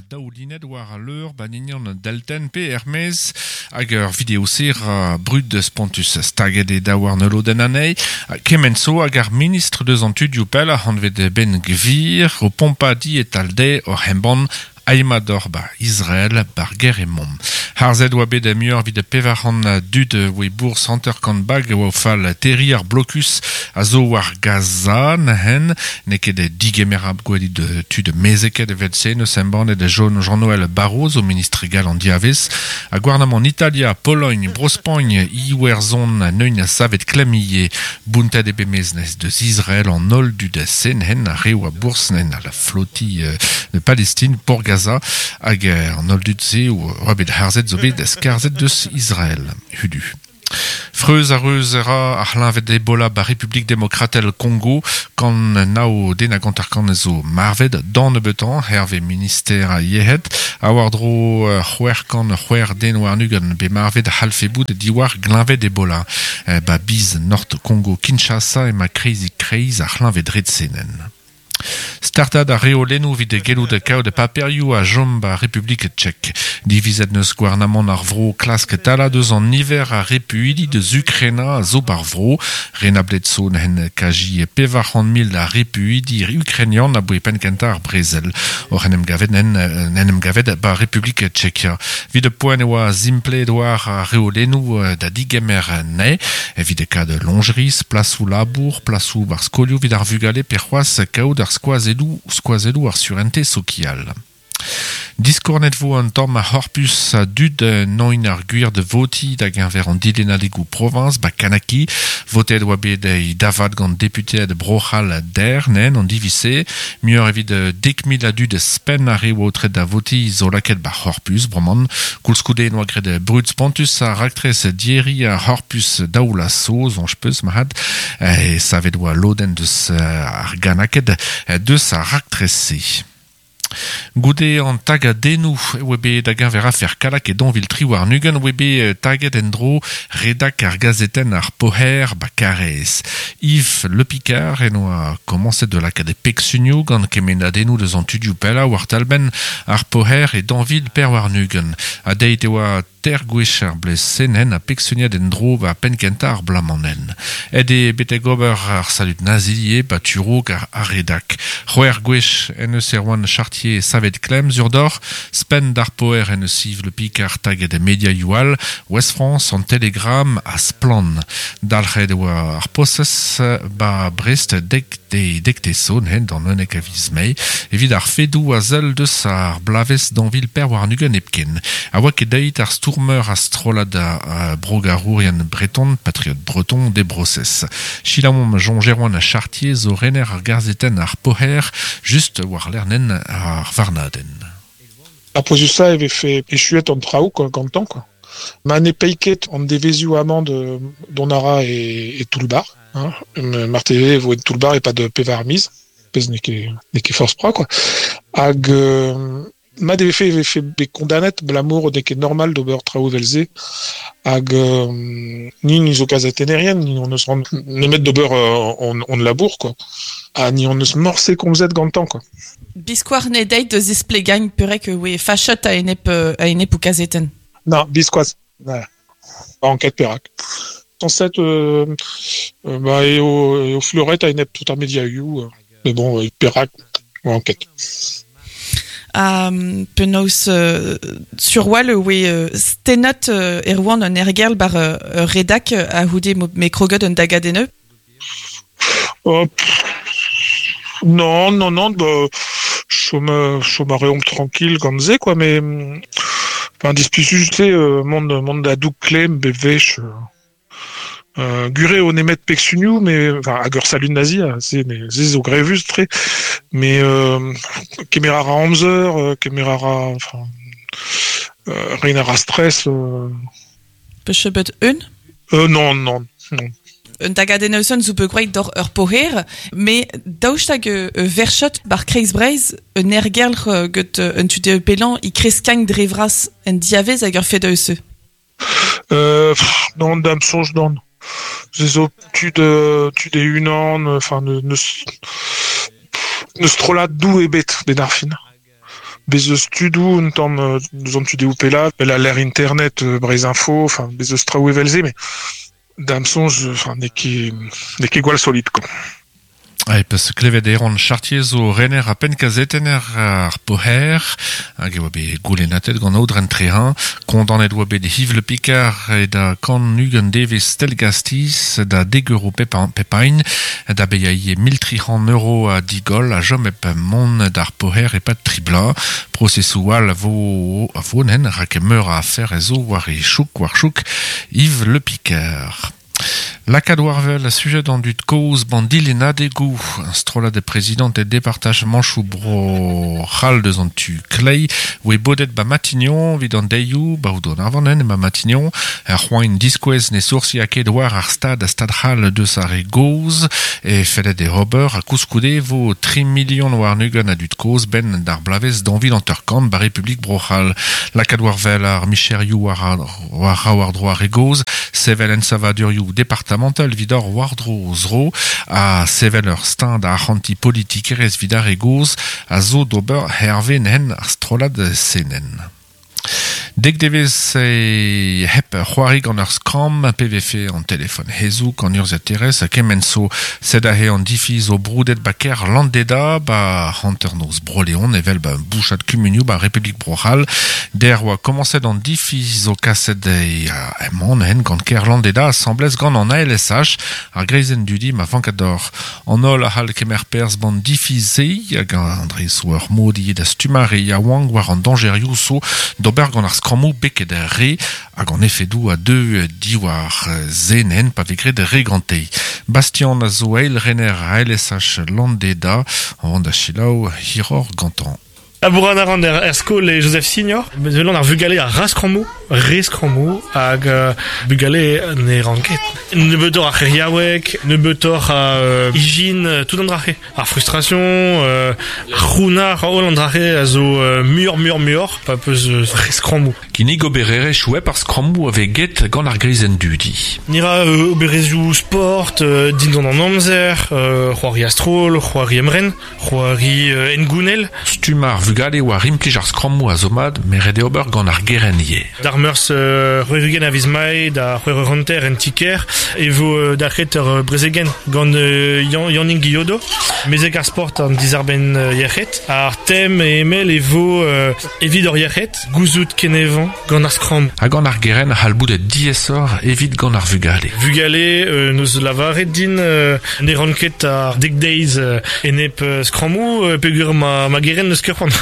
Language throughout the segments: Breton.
Daoulinet war al leur ba ninian deltenn pe er-maez hag ur video-se ra brud spontus staget e daouarn ul lodenn anezhi. Kement zo hag ar ministr deus an tudioù pell anvet Ben Gvir o pompañ di e-tal dezhe oc'h embann Aimador ba Israel bar gêr emaomp. Harzet oa bet muioc'h evit 400 dud oa bourzh 50 bag e oa o fal terriñ ar blokus a zo war Gaza neuzen. N'eo ket digemerabl gwelit tud mezeket evel-se neus embannet Jean-Noël Barrot zo ministr gall an diavez. Ha gouarnamant Italia, Pologn, Bro-Spagn, Iwerzhon neuint savet klemm ivez. Bountet eo bet maez deus Israel an holl dud se neuzen ar re oa bourzh neuzen a la flotilh de Palestine pour Gaza hag an holl dud-se oa bet harzet zo bet skarzhet deus Israel. Hudu. Freuz a reuz a ra ar c'hleñved Ebola ba Republik Demokratel Kongo kant nav den hag 50 zo marvet d'an nebeutañ hervez minister ar yec'hed ha war-dro 606 den warn-ugent bet marvet a c'hallfe bout diwar gleñved Ebola. Ba biz Nord Kongo Kinshasa emañ kreizik-kreiz ar c'hleñved-red-se. Startaat ar reolennoù evit gellout kaout paperioù a chom 'ba Republik Tchek. Divizet 'neus gouarnamant ar vro klask talañ deus an niver a repuidi deus Ukraina a zo 'bar vro. Renablet zo n'hen kaji 400 mil a repuidi ukrainian aboe penn-kentañ ar brezel. Oc'h en em gavet n'en en em gavet 'ba Republik Tchekia. Evit poent e oa simplet war ar reolennoù da digemer anezhe. Evit kad loñjeris, plasoù labour, plasoù 'bar skolioù evit ar vugale pe c'hoazh kaout ar skoazelloù skoazelloù ar surentez sokial. Diskornet vo un tamm ar c'horpus a dud noint ar gwir da votiñ da geñver an dilennadegoù proviñs ba Kanaki. Votet oa bet e davad gant deputeed Bro-C'hall der nen an diviz-se. Muioc'h evit 10,000 a dud spenn ar re oa aotret da votiñ zo lakaet ba c'horpus bremañ. Koulskoude noa graet brud spontus ar raktres dieri ar c'horpus daoula so soñj peus mat. E savet oa lodenn deus ar Ganaked deus ar raktres-se. Goude an tagadennoù e oa bet da geñver afer Kallag e 2023 oa bet taget en-dro redak ar gazetenn ar Poher ba Karaez. Yves Le Picard en oa komañset da lakaat e pegsunioù gant kemennadennoù deus an tudioù pellañ war talbenn ar Poher e 2024. Ha deit e oa Teir gwech ar blez-se-nen ha pegsuniad en-dro ba penn-kentañ ar bloaz-mañ-nen. Aet eo betek ober ar salud nazi ivez ba tu-raok ar redak. C'hwec'h gwech en deus Erwan Chartier savet klemm sur deoc'h. Spenn d'ar poer en deus Yves Le Picard taget mediaioù all, Ouest-France, an Telegram ha Splann. Dalc'het e oa ar prosez ba Brest dek dek zo neuze d'an 11 a viz Mae evit ar fedoù a sell deus ar bloavezh 2024 hepken. A oa ket deuet ar stourmer a strollad brogarourien breton, Patriote Breton, d'e brosez. Selaouomp Jean-Jeroen Chartier zo rener ar gazetenn ar Poher, just war-lerc'h ar varnadenn. Ar pouezusañ e vefe echuet an traoù quoi, gantañ quoi. Ma ne pae ket an devezhioù amañ dont a ra e toull-bac'h. Hein. Marteze e vo en toull-bac'h e-pad pevar miz, pezh n'eo ket n'eo ket forzh pra quoi. Hag mat e vefe e vefe bet kondanet abalamour n'eo ket normal d'ober traoù evel-se. Hag ni ni zo kazetennerien, ni hon eus c'hoant nemet d'ober hon, hon labour quoi. Ha ni hon eus morse komzet gantañ quoi. Biskoazh ne deit da zisplegañ perak e oe fachet a-enep a-enep ho kazetenn. Non, biskoazh. Voilà. Enquête perak. Sañset bah, eo, eo fleuret a-enep tout ar mediaioù. Mais bon, perak, enquête. Ha penaos sur-walc'h e oe stennet Erwan an Ergerl bar ur redak a-c'houde m'eo kroget un dagadenn Oh, non, non, non, bah, chom, chom a reomp tranquille gant se, quoi, mais enfin, displijus eo mont, mont da doug klemm bep wech. Euh, gure eo nemet pegsunioù, mais enfin, hag ur salud nazi, se, mais se zo grevus-tre. Mais euh, kemer a ra amzer, kemer a ra, enfin, euh, reiñ a ra stress. Euh, Peus bet un? Non, non, non. Un tagadenn eus zo bet gwraet doc'h ur poher, met daoust hag verchet bar Kreiz Breizh un aergelc'h get un tudeù pellañ e kreskañ dre vras en diavez hag ur fed eus Euh, pff, non, da'm soñj non. Se zo tud, tud e-unan, enfin, n'eus n'eus strollad doù ebet 'benn ar fin. Bez eus tudou un tamm deus an tudeoù pella, bel a l'air internet, Breizh Info, enfin, bez eus traoù evel-se, mais da'm soñj, enfin, n'eo ket gwall solid, quoi. Ai peus klevet Erwan Chartier zo rener a penn-kazetenner ar Poher, hag e oa bet goulennatet gant Aodren Trehin, kondanet oa bet Yves Le Picard e da kan ugent devezh stelgastiz da deg euro pepain, da bezañ 1300 euro a digoll a chom hep mont d'ar Poher e-pad tri bloaz. Prosesoù all a vo nen rak meur a afer ez zo war e chouk war chouk Yves Le Picard. Lakaat war-wel a sujet an dud kozh ban dilennadegoù, un strollad de prezidant e departamantoù Bro-C'hall deus an tu kleiz, oe bodet ba Matignon evit an deioù, ba Oudon Arvanen ema Matignon, ar c'hoain diskouez ne soursia ket war ar stad a stad c'hall deus ar re gozh, e fellet e ober ha koulskoude vo 3 milion warn-ugent a dud kozh ben d'ar bloavezh daou vil hanter-kant ba Republik Bro-C'hall. Lakaat war-wel ar micherioù war war-dro ar re gozh, sevel ensavadurioù departamental evit ar war-dro zro ha sevel ur steuñv da arc'hantiñ politikerezh evit ar re gozh a zo d'ober hervez nen ar strollad senen. Dek devezh e hep c'hoari gant ur skramm pe vefe an telefon hezoug an urzhiataerez ha kement zo sed aze an difi zo broudet ba kêr Landeda ba hanternoz Bro-Leon evel ba bouchad kumunioù ba Republik Bro-C'hall. Der oa komañset an difi zo kaset e emañ hen gant kêr Landeda asambles gant an ALSH ar greizenn dudi ma vank d'or. An holl a c'hall kemer perzh ban difi-se hag an dre zo ur mod ivez da stummañ re yaouank war an dañjerioù zo d'ober gant ar skrammoù beket re hag an efedoù a deu diwar zenen pa vez graet re gante. Bastien a zo eil rener ALSH Landeda an da selaou hiroc'h gantañ. Labourat a ran er skol e Joseph Signor. Bezelon ar vugale a ra skrammoù, re skrammoù, hag bugale ne ran ket. Nebeutoc'h a c'heriaoueg, nebeutoc'h a ijin, tout an dra-se. Ar frustration, ar c'hounnar, holl an dra-se a zo muioc'h, muioc'h, muioc'h, pa peus re skrammoù. Kinnig obererezhioù hep ar skrammoù a vez get gant ar greizenn dudi. Ni ra obererezhioù sport, dindan an amzer, c'hoari a-stroll, c'hoari emren, c'hoari hengounel. Stummañ ar vugale war implij ar skrammoù a zo mat, met ret eo ober gant ar gerent ivez. D'ar meurzh c'hwec'h-ugent a viz Mae da c'hwec'h eur hanter en ti-kêr e vo dalc'het ur brezegenn gant Yannig Guillodo, mezeg ar sport an dizarbenn yec'hed. Ar tem e emell e vo evit hor yec'hed, gouzout kenevañ gant ar skramm. Ha gant ar gerent a c'hall bout diaesoc'h evit gant ar vugale. Vugale n'eus lavaret din ne ran ket ar dek deiz enep skrammoù peogwir ma gerent n'eus ket c'hoant.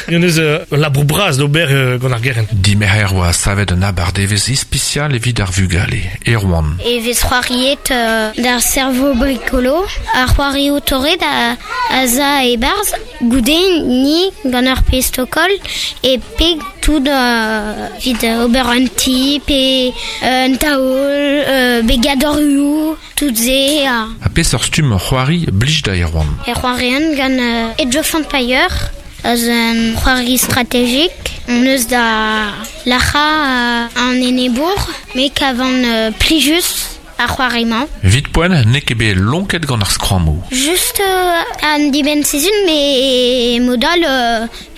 N'eus eus labour bras d'ober gant ar gerent. Dimerc'her oa savet un abardevezh ispisial evit ar vugale. Erwan. E vez c'hoariet d'ar cerveau bricolo, ar c'hoarioù torret a za e-barzh, goude ni gant ar pestokol e peg tout evit ober un ti pe un taol, be gadorioù, tout se. Ha peseurt stumm c'hoari blij da Erwan? E c'hoarian gant Age of Empire, eus un c'hoari strategik. On eus da lac'hañ an enebour, met kavan plijus ar c'hoari-mañ. Evit poent, n'eo ket bet lonket gant ar skrammoù. Just an dibenn sizhun, met mod all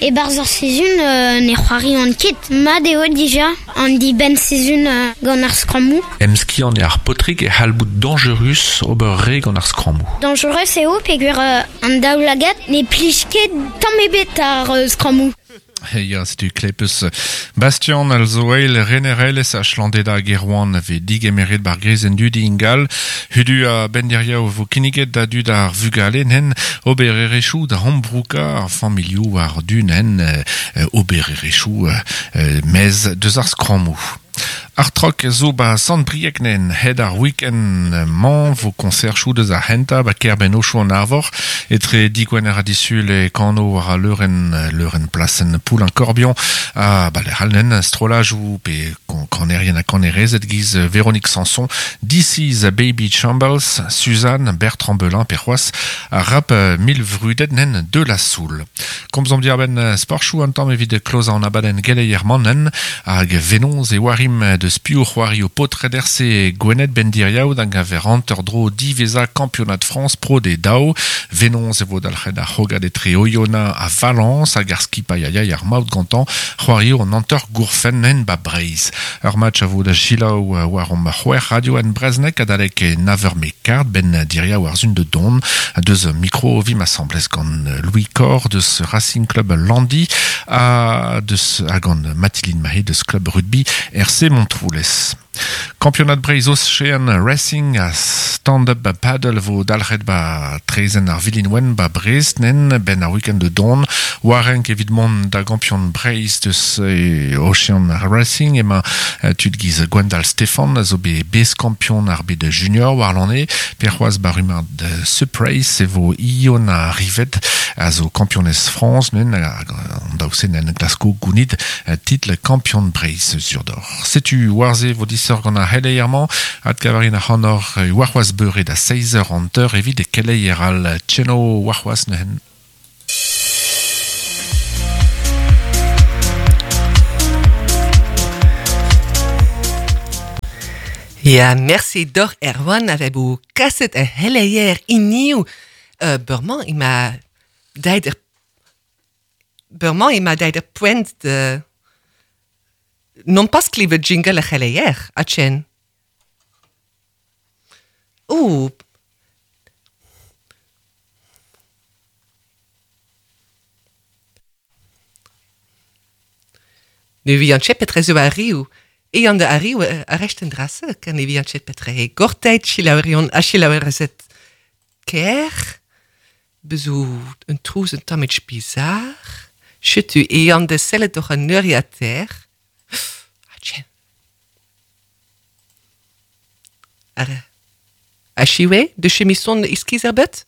e-barzh ar sizhun ne c'hoarian ket. Mat eo dija an dibenn sizhun gant ar skrammoù. Emskiant eo ar paotrig e c'hall bout dañjerus ober re gant ar skrammoù. Dañjerus eo peogwir an daoulagad ne plij ket tamm ebet ar skrammoù. Ya, setu klepus Bastien Alzoeil, rener LSH Landeda hag Erwan vez digemeret bar greizenn dudi ingal. Hudu a benderia vo kinniget da dud ar vugale nen obererezhioù da ambrouka ar familhoù war du nen obererezhioù mez deus ar skrammoù. Ar trok zo ba Sant-Brieg nen hed ar week-end mañ vo konserchoù deus ar c'hentañ ba kêr-benn Aochou an Arvor etre digwener ha disul e kano war al leurenn plasenn Poulain-Corbion ha ba lec'h all nen strollajoù pe kanerien ha kanerezed giz Véronique Sanson, This Baby Shambles, Suzanne, Bertrand Belin pe c'hoazh ar rap mil vrudet nen de la Soul. Komzomp diàr-benn sportchoù an tamm evit klozañ an abadenn geleier-mañ nen hag venoz e oarim deus deus piv c'hoari o paotred RC Gwened ben diriaou da gaver hanter dro diveza Kampionad Frañs Pro D daou. Venoz e vo dalc'het ar c'hrogad etre Oyonnax ha Valence hag ar skipailh a yay ar maout gantañ c'hoario an hanter gourfenn en ba Breizh. Ur match a vo da selaou war hom c'hwec'h radio en brezhoneg adalek nav eur met kard ben diriaou ar sun de don deus mikro vimp asambles gant Louis Corr deus Racing Club Landi ha deus ha gant Mathilde Mahé deus Club Rugby RC Montroulez. Kampionad Breizh Ocean Racing ha stand-up paddle vo dalc'het ba traezhenn ar Vilin Wenn ba Brest nen benn ar week-end de don. War renk evit mont da gampion Breizh deus Ocean Racing emañ tud giz Gwendal Stefan a zo bet beskampion ar bed junior warlane. Pe c'hoazh ba rummad Surprise e vo Iona Rivet a zo kampionez Frañs nen hag an daou-se nen glasko gounid titl kampion Breizh sur d'or. Setu war-se vo disoc'h gant ar c'heleier-mañ. Adkavarin ac'hanoc'h warc'hoazh beure da 7h50 evit keleier all. Tcheno warc'hoazh neuze. Ja, merci doc'h Erwan a vebo kaset ar c'heleier hiniv. Uh, Bremañ ema deit er Bremañ ema deit er poent de Non pas klevet jingle ar c'heleier, a chen. Oh. Ne vian chet petre zo arriu. E an de arriu a recht en drasse, ken ne vian chet petre he gorteit chilaurion a chilaurezet ker. Bezo un trouz un tammig bizar. Chetu e an de sellet doc'h an neuriater. Ah, tien. Ar a chiwe, de chemison iskiz ar bet?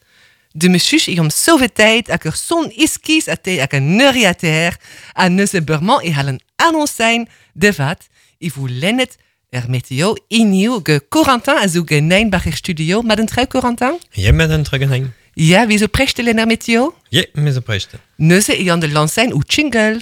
De messus i om sauveteit ak ur son iskiz a te ak an neuriater a neuze beurmañ e hall an annoncein de vat i vo lennet er meteo iniv ge Corentin a zo genein bar er studio. Mat un treu, Corentin? Ja, met een treu genein. Ja, wie zo preste len er meteo? Ja, me zo preste. Neuze e an de lancein ou jingle.